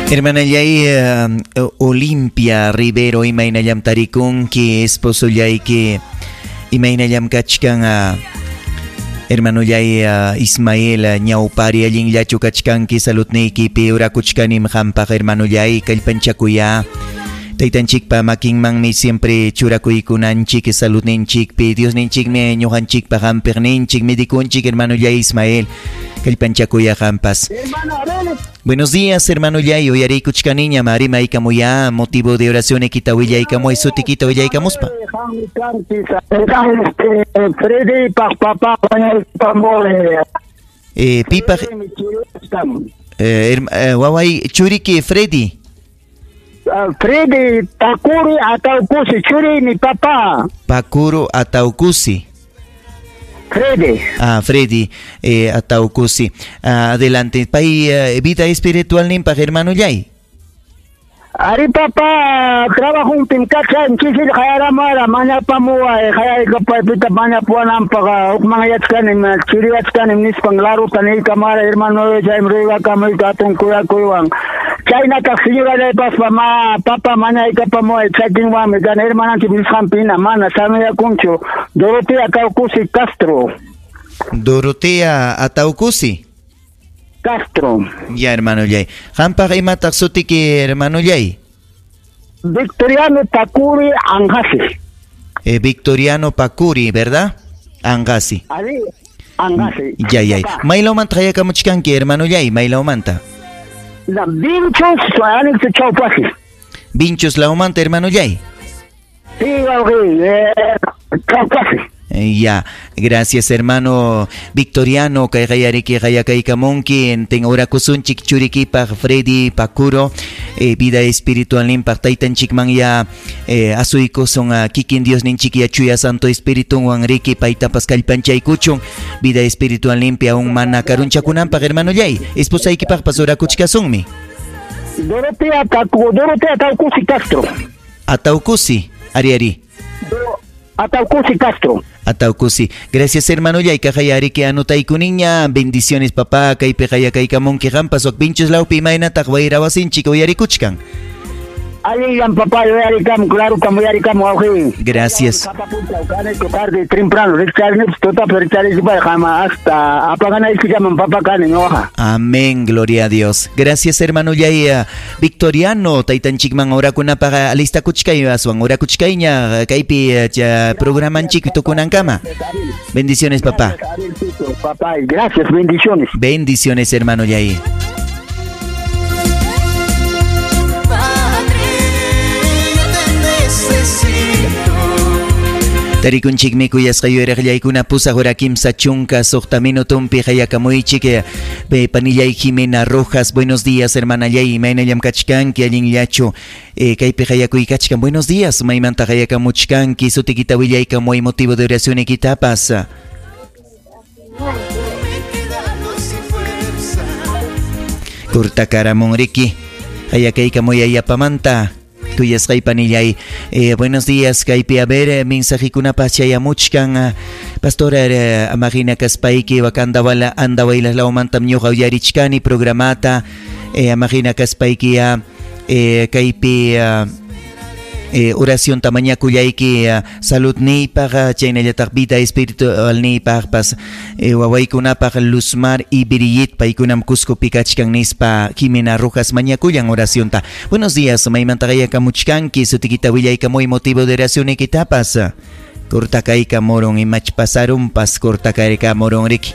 Hermanallay Olimpia Rivero imaynallam tarikunki esposollayki imaynallam kachkan hermanollay Ismael ñawpari allinllachu kachkanki saludniykipi orakuchkanim qampaq hermanollay kallpanchakuya taytanchikpa makinmanmi siempre churakuykunanchik saludninchikpi Diosninchikmi ñuqanchikpa hampiqninchik medikunchik hermanollay Ismael kallpanchakuya qampas. Buenos días, hermano Yay. Uyariykuchkaniñam rimaykamuya motivo de oración ikita willaykamuy sutikita willaykamuspa. Pipaq waway churiki Freddy. Freddy Pacuro Ataucusi, churimi papá. Pacuro Ataucusi. Freddy. Ah, Freddy Ataucusi. Adelante. Pay vida espiritual nimpaq hermano Yay. Ari papá, trabajo un timkacha, chisil hayaramara, mañapamuwa, hayaykapaypita mañapuanampaqa, huk manyachkanim, chiriwachkanim nispan laruta niykamara, hermano chaymi ruywakamuy hatun kuyakuywan. Chaynataq señorallaypaspa ma papa mañaykapamuway chakinwanmi kan hermananchik nisqanpina mana samayakunchu. Dorotea Ataucusi Castro. Dorotea Ataucusi Castro. Ya, hermano Yay. Qampaq imataq sutiki, hermano Yay? Victoriano Pacuri Angasi. Victoriano Pacuri, ¿verdad? Angasi. Ari, Angasi. Ya, ya. Maylawmanta hayakamuchkanki, hermano Yay, maylawmanta. La Vinchos, anexo Chaupasi. Vinchos lawmanta, hermano Yay. Sí, Chaupasi. Ya, gracias hermano Victoriano, kayqayariki qayakaykamunki, ten orakusunchik churikipaq Freddy Pacuro, vida espiritual nimpaq taytanchikman ya asuykusun kikin Diosninchik ya chuya Santo Espiritunwan riki paytapas kallpanchaykuchun vida espiritual limpia aún mana karunchakunanpaq hermano Yay, esposaykipaqpas orakuchkasunmi. Dorotea Ataucusi Castro. Ataucusi, ari ari. Ataucusi Castro. Ataucusi. Gracias, hermano Yay. Kajayariki anotaykuninña. Bendiciones, papá. Kaypi qayakaykamunki qampas wak pinchos lawpi imaynataq wayrawasinchik uyarikuchkan. Allinllam papá, uyarikamu, claro, kam uyarikamu wawqi. Gracias. Tarde, temprano, hasta apaganaykillaman papá kani ñuqa. Amén, gloria a Dios. Gracias, hermano Yay. Victoriano, taytanchikman orakunapaq alistakuchkay aswan orakuchkayña kaypi programanchik tukunankama. Bendiciones, papá. Papá, gracias, bendiciones. Bendiciones, hermano Yay. Tarikunchikmi kuyasqa yuyariqllaykuna pusaq hora 36 minutumpi hayakamuychik panillay Jimena Rojas. Buenos días, hermana Yay, imaynallam kachkanki allinllachu kaypi hayakuykachkan. Buenos días, maymanta hayakamuchkanki sutikita willaykamuy motivo de oración ikitapas. Kurtakaramunriki hayakaykamuy ayapamanta. Kuyasqay panillay, buenos días, kaypi a ver mensajikunapas chayamuchkan. Pastora amajina kaspayki wakandawala andawaylas lawmantam ñuqa uyarichkani programata amajina kaspayki kaypi oración tamañakullayki saludniypaq chaynallataq vida espiritualniypaqpas wawaykunapaq Luzmar y Brigitte paykunam Cuscopi kachkan nispa Jimena Rojas mañakullan oracionta. Buenos días, maymanta qayakamuchkanki sutikita willaykamuy motivo de oración ikitapas. Cortakaykamuron imach pasarunpas cortakaykamuron riki.